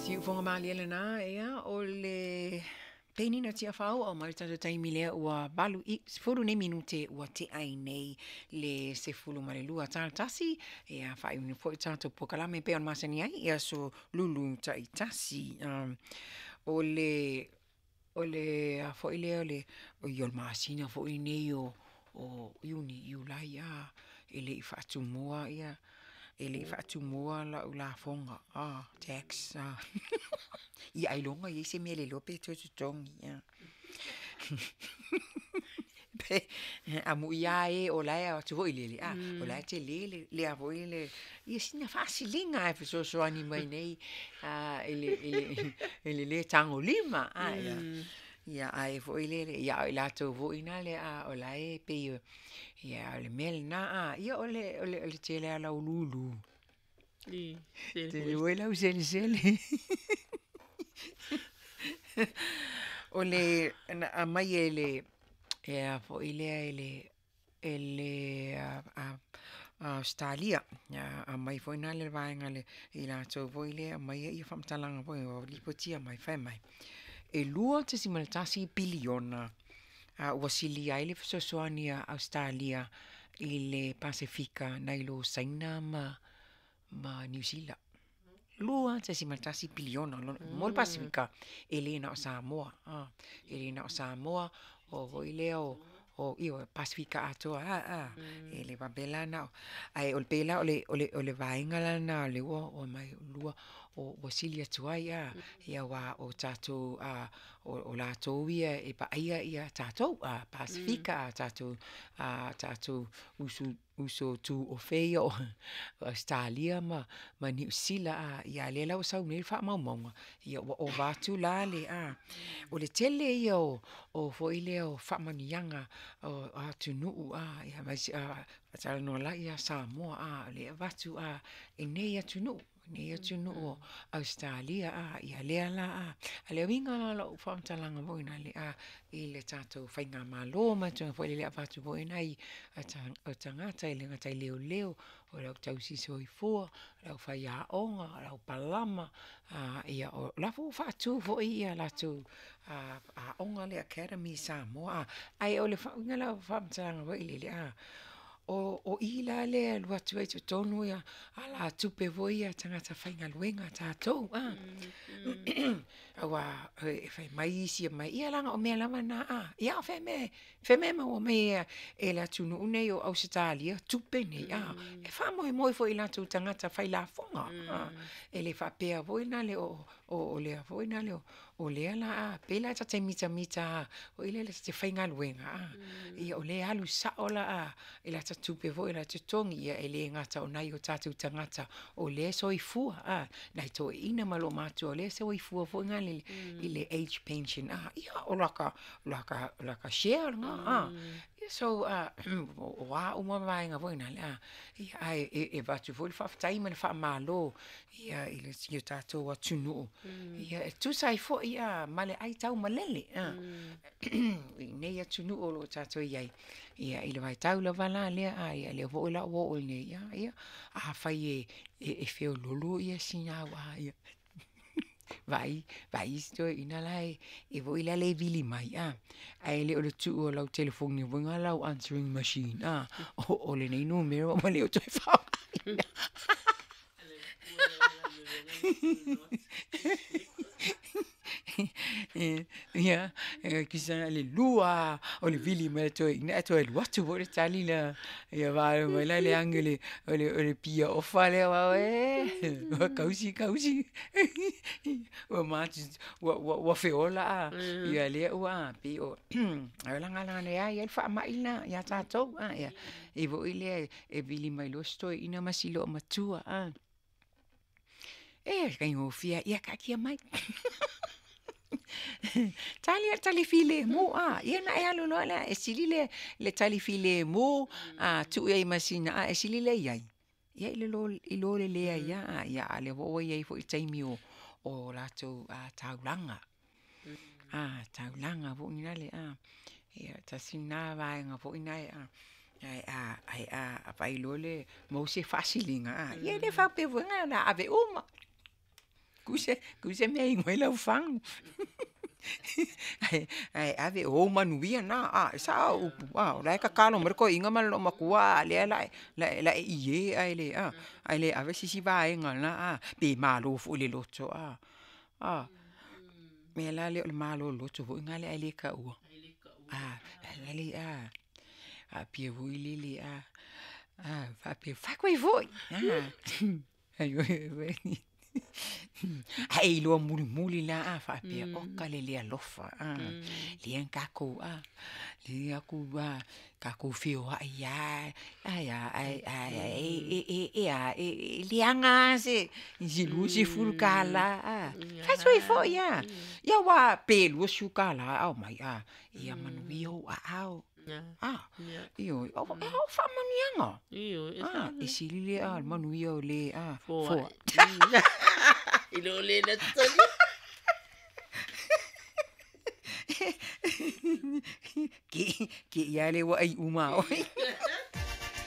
Siufoga malie lena, ia, o le penina Tiafau a mai le tatou taimi lea ua valu i 10 nei minute ua tea ai nei le 12 tala tasi, ia faaiuina foi tatou polokalame pei ona masani ai i aso Lulu taitasi. O le o le a foi lea o le o le masina foi lenei o Iuni, Iulai, e le i faatumua ia, e le i faatumua lau lafoga, tax. Ia ailoga e i ai se mea e le iloa pe toe totogi. Amuia lava e o la e o atu foi lele, o la e tele le a foi le, ia sina faasiliga lava e fesoasoani mai nei i le le tagolima. Ia ae foi lele, ia a o i latou foi na lea o la e pei e, ia o le mea lena, ia o le tele lava o le au lulu, tele foi le au selesele. O le, na aumai e le, e a foi lea e le Ausetalia, na aumai foi lena le vaega i latou foi lea e aumaia faamatalaga foi lea ua lipotia mai fai mai, e 2.1 piliona ua silia ai le fesoasoani a Ausetalia i le Pasefika nai lo Saina ma Niu Sila. 2.1 piliona mo le Pasefika, e le na o Samoa. E le na o Samoa, o foi lea o ioe, Pasefika atoa lava, e le faapea la na o, ae pei la o le vaega lena o lea ua aumai ua sili atu ai, aua o tatou o latou ia e vaaia tatou Pasefika, a tatou uso tuofe ia o Ausetalia ma Niu Sila, a o lea la ua sau nei le faamaumauga, ua ova atu la le… O le tele ia o foi lea o faamanuiaga o atunuu, aemaise a talanoa loa ia Samoa, o lea e avatu i nei atunuu, nei atunuu o Ausetalia, ia lea la, a o le uiga la o lau faamatalaga foi lea i le tatou faigamalo ma le tulaga foi lele e avatu foi nai o tagata e le gata i leoleo, o le au tausisoifua, o le aufaiaoga, o le aupalama, ia o la foi ua faatu foi a latou aoga lea academy i Samoa. Ae o le uiga la o lau faamatalaga foi lele, o i la lea e alu atu ai i totonu alatupe foi ia a tagata faigaluega a tatou, aua e fai mai isi, ia leaga o mea lava na, a o fea e maua mai ai e le atunuu lenei o Ausetalia tupe nei, a? E faamoemoe foi i latou tagata failafoga, e le faapea foi lale o lea foi lale o lea o le a, pei la ta te mitamita lava foi lele ta te faigaluega, ia o lea e alu sao la i lata tupe foi lea totogi, ia e le gata o nai o tatou tagata o lea e soifua, nai toeaiina ma olomātua o lea e soifua foi lea i le age pension, ia o lata share lena. Ia so, o a uma vaega foi nale, ae avatu foi le faafetai ma le faamalo i o tatou atunuu, e tusa ai foi ma le aitaumalele i nei atunuu o lo o tatou i ai, i le vaitau lava la lea, ia lea foi la ua oo nei, ia, afai e feoloolo sina au a ia vaai isi toeaiina la e foi lele e vili mai, ae le o le tuu o lau telefoni foi lena lau answering machine, o lenei numera ua le o toe faaaogaina. Ia, e tusa na o le lua lava o le vili mai o le toeaina ae toe alu atu foi le tali lea, ia faalogo mai la i le agi o le pia ofa lea, e, ua tausi tausi, ua feola a, ia lea ua pei o, leaga o lea e i ai le faamai lena ia tatou, e i ai foi lea e vili mai loa si toeaina ma si loomatua, e faigofie lava, ia taatia mai. Tali lava i le tali filemu, ia ona e alu loa lea, e sili le tali filemu tuu i ai ma sina ae sili le i ai, ia i lo le leai lava. Ia a o lea foi ua i ai foi taimi o latou taulaga, taulaga foi nale a, ia tasi lena vaega foi lena, ae a vaai loa maua se faasiliga, ia e le faapea foi la o le a ave uma. Ku se mea i igoa ai lau fagu. Ae ave o ou manuia na, e sao au upu, o la e tatalo mai le toeaina ma le loomatua, a o lea o le a e ie ae le a, ae le ave se isi vaega o lena a, pe malo foi i le loto a. O le mea la lea o le malo o le loto foi lena ae le taua, faapea foi lele a, faapea fai atu ai foi. Ae e iloa mulimuli la a faapea, oka le le alofa a, lea na tatou a, lea na tatou feoai lava, ae a, ae e a, e leaga lava se $20 a. Fai atu ai foi a, ia aua pe $20 a aumai a, ia manuia ou aao, ioe, o faamanuiaga, e sili lea o le manuia o le foai. I lo le na tali. Ke ia le ua ai uma oe.